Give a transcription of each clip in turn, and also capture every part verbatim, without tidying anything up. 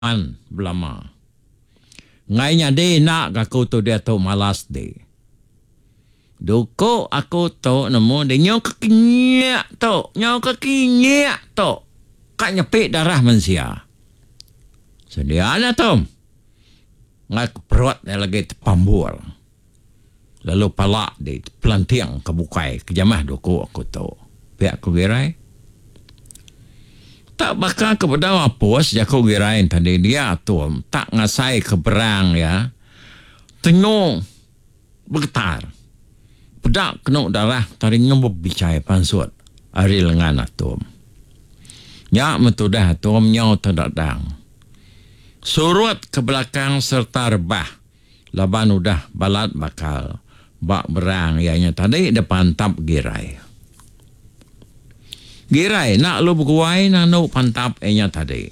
An belama. Enggai nyadi enda ga aku tu diatu malas di. Duku aku tu nemu di nyau ke kinyik tu, nyau ke kinyik tu ka nyepi darah mensia. Sedia nya tu. Enggai ke perut iya lagi tepambur lalu pala di tepelanting ke bukai ke jamah duku aku tu. Pia ku Girai. Tak baka ke bedau apus jaku Girai tadi dia tu tak ngasai ke berang iya tengu begetar. Peda kenu darah tadi ngembup bichai pansut ari lengan atum. Nya meh tudah atum nyau tedadang. Surut ke belakang sereta rebah laban udah balat bakal ba berang iya nya tadi dipantap Girai. Girai enda lalu beguai nandu pantap iya nya tadi.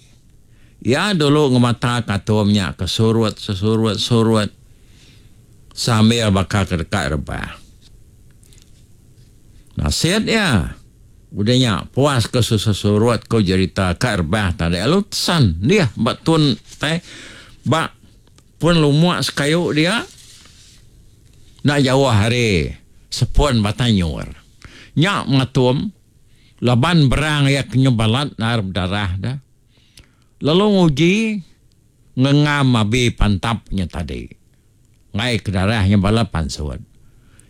Iya dulu ngemata katum nya ke surut sesurut-surut sambil baka ke deka rebah. Nasit iya udah nya puas ke sesurut ku jerita ka rebah tadi lalu tesan dih ba tun tai ba pun lumuk sekayu dia enda jauh ari sepun batang nyur. Nya mengatum laban berang iya ke nyu balat nar bedarah da lalu nguji ngengam abi pantap nya tadi enggai ke darah nya balat pansut.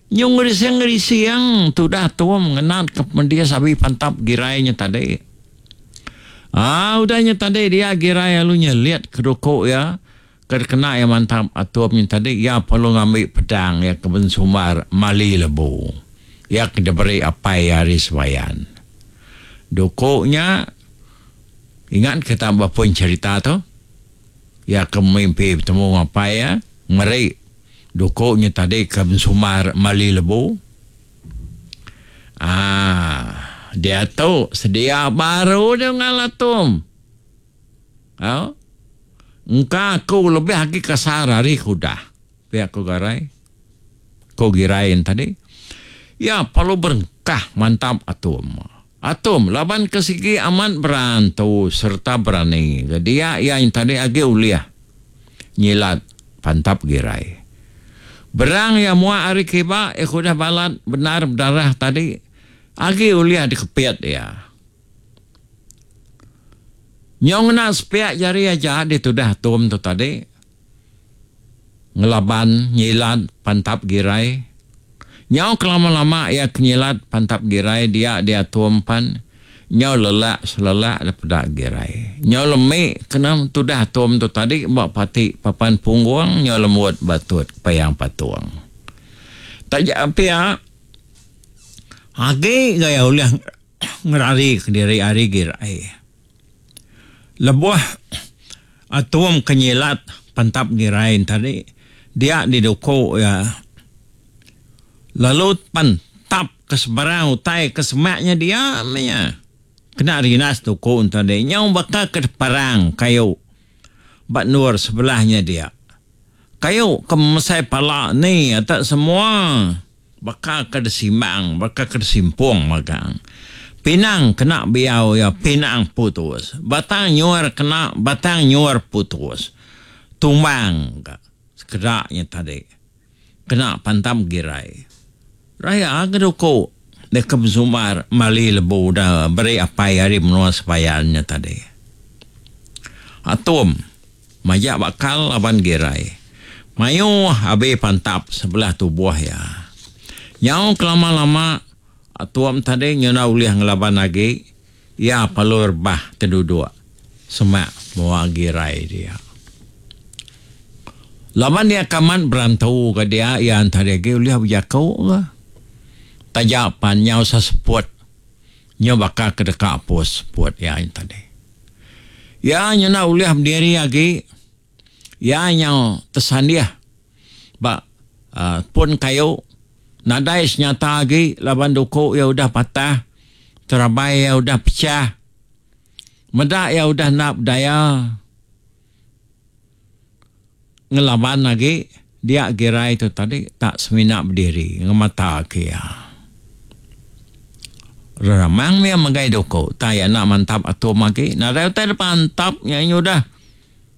Nyu ngerising-ngerising tudah tum ngenat ke pemedis abi pantap girai nya tadi. Aa udah nya tadi dia girai lalu nyelit ke duku iya ke dikena iya mantap atum nya tadi iya perlu ngambi pedang iya ke bensumbar mali lebu iya ke diberi apai iya ari sebayan. Duku nya ingat kita ba pun cherita tu iya ke mimpi betemu enggau apai iya meri duku nya tadi ke bensumbar mali lebu. Aaa diatu sedia baru deh ngalah tum. Au engka aku lebih agi kasar ari ke udah pia ku Garai. Ku Girai tadi. Iya perlu berengkah mantap atum. Atum laban ke sigi amat berantu sereta berani ke dia iya nya tadi agi ulih nyilat pantap Girai. Berang iya muak ari kiba iya ke udah balat bendar bedarah tadi agi ulih dikepit iya. Nyau ngena sepiak jari aja ditudah Atum tu tadi ngelaban nyilat pantap Girai. Nyau kelama-lama iya ke nyilat pantap Girai dia diatum pan nyau lelak selelak da peda Girai. Nyau lemi kena tudah atum tu tadi ba pati papan punggung nyau lembut batut payang patung. Taja pia agi ga iya ulih ngerari kediri ari Girai. Lebuh atum ke nyilat pantap Girai tadi dia diduku iya. Lalu pan tap ke sebarang utai ke semak nya dia meh nya. Kena rinas tuku enta deh nyau baka ke parang kayu ba endur sebelah nya dia. Kayu ke mesai pala ni ata semua baka ke desimbang baka ke desimpung magang. Pinang kena biau iya pinang putus. Batang nyur kena batang nyur putus. Tumbang ka sekeda nya tadi. Kena pantam Girai. Raya ke duku deka besumbar mali lebu da beri apai ari menua Sebayan nya tadi. Atum majak bakal laban Girai. Mayuh abi pantap sebelah tubuh iya. Nyau kelama-lama Atum tadi nyau enda ulih ngelaban agi iya perlu rebah teduduk semak mua Girai dia. Laban iya ke amat berantu ga dia iya entah agi ulih bejaku ga. Taja pan nyau seseput nyau baka ke deka apus seput iya nya tadi. Iya nyau enda ulih bediri agi iya nyau tesandih ba uhh pun kayu nadai senyata agi laban duku iya udah patah terabai iya udah pechah meda iya udah enda bedaya. Ngelaban agi dia Girai tu tadi tak semina bediri ngemata ke iya. Reramang mih megai duku tai enda mantap atum agi nadai utai dep antap nya inya udah.